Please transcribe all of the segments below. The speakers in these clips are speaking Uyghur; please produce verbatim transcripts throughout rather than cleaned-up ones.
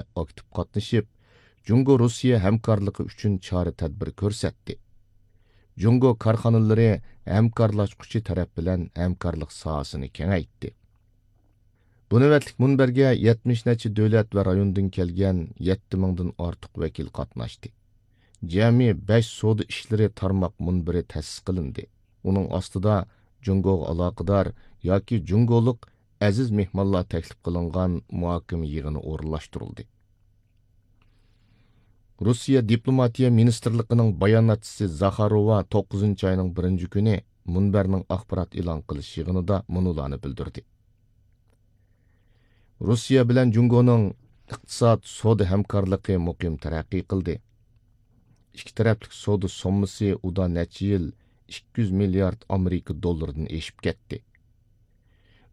ئاكتىپ قاتنىشىپ، جۇڭگو روسىيە ھەمكارلىقى ئۈچۈن چارە تەدبىر كۆرسەتتى. جۇڭگو كارخانىلىرى ھەمكارلاشقۇچى تەرەپ بىلەن ھەمكارلىق ساھەسىنى كېڭەيتتى. بۇ نۆۋەتلىك مۇنبەرگە يەتمىش نەچچە دۆلەت ۋە رايوندىن كەلگەن يەتتە مىڭدىن ئارتۇق ۋەكىل قاتناشتى. جەمئىي بەش سودا ئىشلىرى تارماق مۇنبىرى تەسىس قىلىندى. ئۇنىڭ ئاستىدا جۇڭگوغا ئالاقىدار ياكى جۇڭگولۇق ئەزىز مېھمانلار تەكلىپ قىلىنغان مۇھاكىمە يىغىنى ئورۇنلاشتۇرۇلدى. روسىيە دىپلوماتىيە مىنىستىرلىقىنىڭ باياناتچىسى زاخاروۋا توققۇزىنچى ئاينىڭ بىرىنچى كۈنى مۇنبەرنىڭ ئاخبارات ئېلان قىلىش يىغىنىدا مۇنۇلارنى بىلدۈردى. روسىيە بىلەن جۇڭگونىڭ ئىقتىساد، سودا ھەمكارلىقى مۇقىم تەرەققىي قىلدى. ئىككى تەرەپلىك سودا سوممىسى ئۇدا نەچچە يىل ئىككى يۈز مىليارد ئامېرىكا دوللىرىدىن ئېشىپ كەتتى.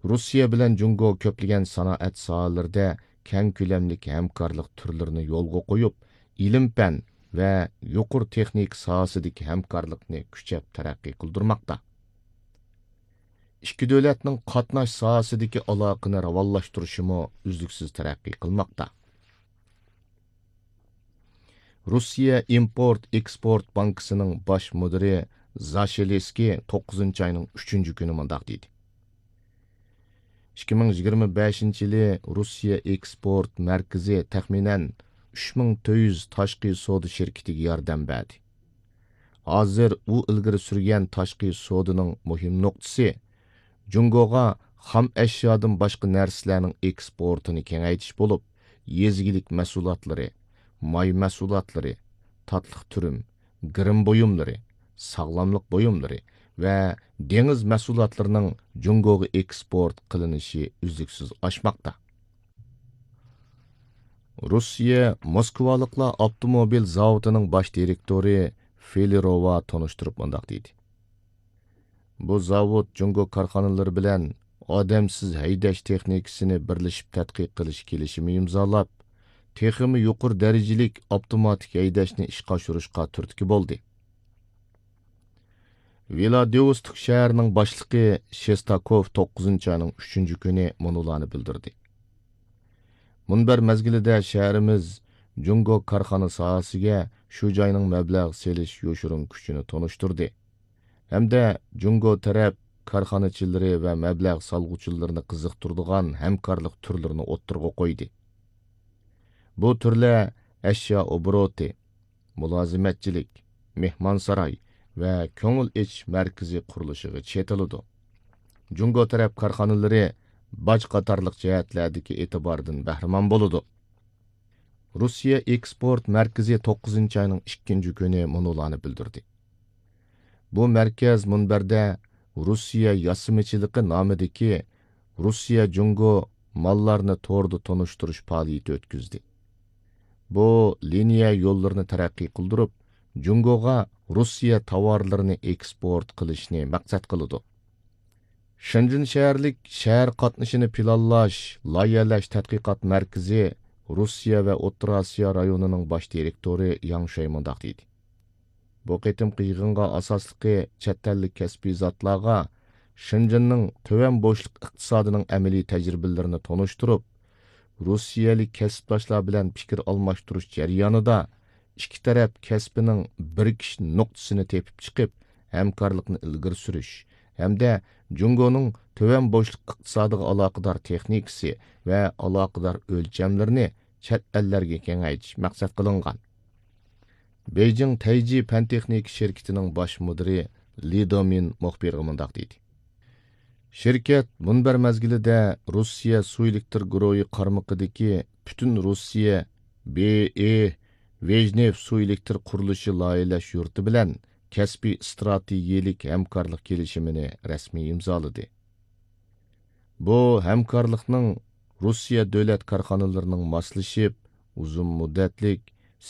روسىيە بىلەن جۇڭگو كۆپلىگەن سانائەت ساھەلىرىدە كەڭ كۆلەملىك ھەمكارلىق تۈرلىرىنى يولغا قويۇپ، ئىلىم-پەن ۋە يۇقىرى تېخنىكا ساھەسىدىكى ھەمكارلىقنى كۈچەپ تەرەققىي قىلدۇرماقتا. ئىككى دۆلەتنىڭ قاتناش ساھەسىدىكى ئالاقىنى راۋانلاشتۇرۇشىمۇ ئۈزلۈكسىز تەرەققىي قىلماقتا. روسىيە ئىمپورت ئېكسپورت بانكىسىنىڭ باش مۇدىرى زاشېلىسكىي توققۇزىنچى ئاينىڭ ئۈچىنچى كۈنى مۇنداق دېدى: ئىككى مىڭ يىگىرمە بەشىنچى يىلى روسىيە ئېكسپورت مەركىزى تەخمىنەن ئۈچ مىڭ تۆت يۈز تاشقى سودا شىركىتىگە ياردەم بەردى. ھازىر ئۇ ئىلگىرى سۈرگەن تاشقى سودىنىڭ مۇھىم نۇقتىسى جۇڭگوغا خام ئەشيادىن باشقا نەرسىلەرنىڭ ئېكسپورتىنى كېڭەيتىش بولۇپ، يېزا ئىگىلىك مەھسۇلاتلىرى، ماي مەھسۇلاتلىرى، تاتلىق تۈرۈم، گىرىم بۇيۇملىرى، ساغلاملىق بۇيۇملىرى ۋە دېڭىز مەھسۇلاتلىرىنىڭ جۇڭگوغا ئېكسپورت قىلىنىشى ئۈزلۈكسىز ئاشماقتا. روسىيە موسكۋالىقلار ئاپتوموبىل زاۋۇتىنىڭ باش دىرېكتورى فېلىروۋا تونۇشتۇرۇپ مۇنداق دېدى: بۇ زاۋۇت جۇڭگو كارخانىلىرى بىلەن ئادەمسىز ھەيدەش تېخنىكىسىنى بىرلىشىپ تەتقىق قىلىش كېلىشىمى ئىمزالاپ، تېخىمۇ يۇقىرى دەرىجىلىك ئاپتوماتىك ھەيدەشنى ئىشقا ئاشۇرۇشقا تۈرتكە بولدى. ۋىلادىۋوستوك شەھىرىنىڭ باشلىقى شېستاكوف توققۇزىنچى ئاينىڭ ئۈچىنچى كۈنى مۇنۇلارنى بىلدۈردى: مۇنبەر مەزگىلىدە شەھىرىمىز جۇڭگو كارخانا ساھەسىگە شۇ جاينىڭ مەبلەغ سېلىش يوشۇرۇن كۈچىنى تونۇشتۇردى ھەمدە جۇڭگو تەرەپ كارخانىچىلىرى ۋە مەبلەغ سالغۇچىلىرىنى قىزىقتۇرىدىغان ھەمكارلىق تۈرلىرىنى ئوتتۇرىغا قويدى. بۇ تۈرلەر ئەشيا ئوبوروتى، مۇلازىمەتچىلىك، مېھمانساراي ۋە كۆڭۈل ئېچىش مەركىزى قۇرۇلۇشىغا چېتىلىدۇ. جۇڭگو تەرەپ كارخانىلىرى باج قاتارلىق جەھەتلەردىكى ئېتىباردىن بەھرىمەن بولىدۇ. روسىيە ئېكسپورت مەركىزى توققۇزىنچى ئاينىڭ ئىككىنچى كۈنى مۇنۇلارنى بىلدۈردى: بۇ مەركەز مۇنبەردە روسىيە ياسىمىچىلىقى نامىدىكى روسىيە جۇڭگو ماللارنى توردا تونۇشتۇرۇش پائالىيىتى ئۆتكۈزدى. بۇ لىنىيە يوللىرىنى تەرەققىي قىلدۇرۇپ، جۇڭگوغا روسىيە تاۋارلىرىنى ئېكسپورت قىلىشنى مەقسەت قىلىدۇ. شېنجېن شەھەرلىك شەھەر قاتنىشىنى پىلانلاش، لايىھەلەش تەتقىقات مەركىزى روسىيە ۋە ئوتتۇرا ئاسىيا رايونىنىڭ باش دىرېكتورى ياڭ شۇەي مۇنداق دېدى: بۇ قېتىمقى يىغىنغا ئاساسلىقى چەت ئەللىك كەسپىي زاتلارغا شېنجېننىڭ تۆۋەن بوشلۇق ئىقتىسادىنىڭ ئەمەلىي تەجرىبىلىرىنى تونۇشتۇرۇپ، روسىيەلىك كەسىپداشلار بىلەن پىكىر ئالماشتۇرۇش جەريانىدا ئىككى تەرەپ كەسپىنىڭ بىرىكىش نۇقتىسىنى تېپىپ چىقىپ، ھەمكارلىقنى ئىلگىرى سۈرۈش ھەمدە جۇڭگونىڭ تۆۋەن بوشلۇق ئىقتىسادىغا ئالاقىدار تېخنىكىسى ۋە ئالاقىدار ئۆلچەملىرىنى چەت ئەللەرگە كېڭەيتىش مەقسەت قىلىنغان. بېيجىڭ تەيجى پەن تېخنىكا شىركىتىنىڭ باش مۇدىرى لى دېمىن مۇخبىرغا مۇنداق دېدى: شىركەت مۇنبەر مەزگىلىدە روسىيە سۇ ئېلېكتر گۇرۇھى قارمىقىدىكى پۈتۈن روسىيە بې ئې ۋېژنېف سۇ ئېلېكتر قۇرۇلۇشى لايىھەلەش يۇرتى بىلەن كەسپىي ئىستراتېگىيەلىك ھەمكارلىق كېلىشىمىنى رەسمىي ئىمزالىدى. بۇ ھەمكارلىقنىڭ روسىيە دۆلەت كارخانىلىرىنىڭ ماسلىشىپ، ئۇزۇن مۇددەتلىك،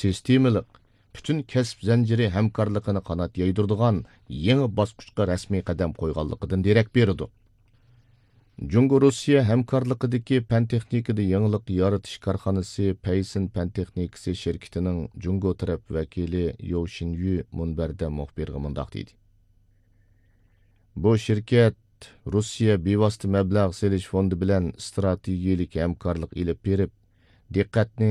سىستېمىلىق، پۈتۈن كەسىپ زەنجىرى ھەمكارلىقىنى قانات يايدۇرىدىغان يېڭى باسقۇچقا رەسمىي قەدەم قويغانلىقىدىن دېرەك بېرىدۇ. جۇڭگو روسىيە ھەمكارلىقىدىكى پەن تېخنىكىدا يېڭىلىق يارىتىش كارخانىسى پەيسىن پەن تېخنىكىسى شىركىتىنىڭ جۇڭگو تەرەپ ۋەكىلى يو شىنيۈ مۇنبەردە مۇخبىرغا مۇنداق دېدى: بۇ شىركەت روسىيە بىۋاسىتە مەبلەغ سېلىش فوندى بىلەن ئىستراتېگىيەلىك ھەمكارلىق ئېلىپ بېرىپ، دىققەتنى